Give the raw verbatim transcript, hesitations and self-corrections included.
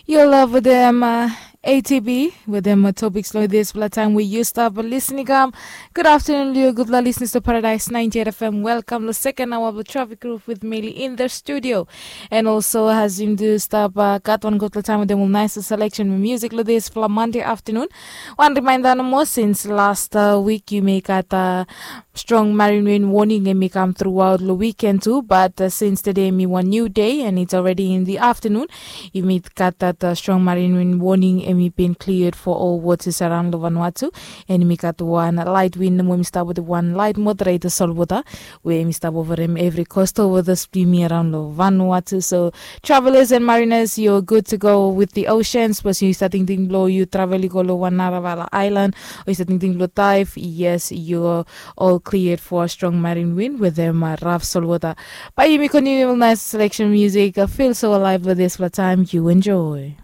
Yu love wetem uh, A T B wetem uh, topiks long dispela taim we yu stap listening kam. Good afternoon, yu gutpela listeners to Paradise ninety-eight F M. Welcome lo second hour of the Traffic Roof with Meli in the studio. And also has yum do stap uh, gat one gutpela taim wetem ol nice selection music lo dispela Monday afternoon. One reminder no more since last uh, week you may gat uh, strong marine wind warning em i kam throughout lo weekend tu, but uh, since today mi wan new day and it's already in the afternoon, yumi gat that uh, strong marine wind warning em i bin cleared for all waters around lo Vanuatu. And mi gat wan light wind mo mi stap with one light moderator solwota we mi stap over em every coast over the streamy around lo Vanuatu. So travelers and mariners, you're good to go with the oceans. But you start thinking blow you travel you go lo one naravala island, or you start thinking blow dive. Yes, you're all cleared for a strong marine wind with them uh, rough salt water. But you may continue with nice selection music. Uh, feel so alive with this for time. You enjoy.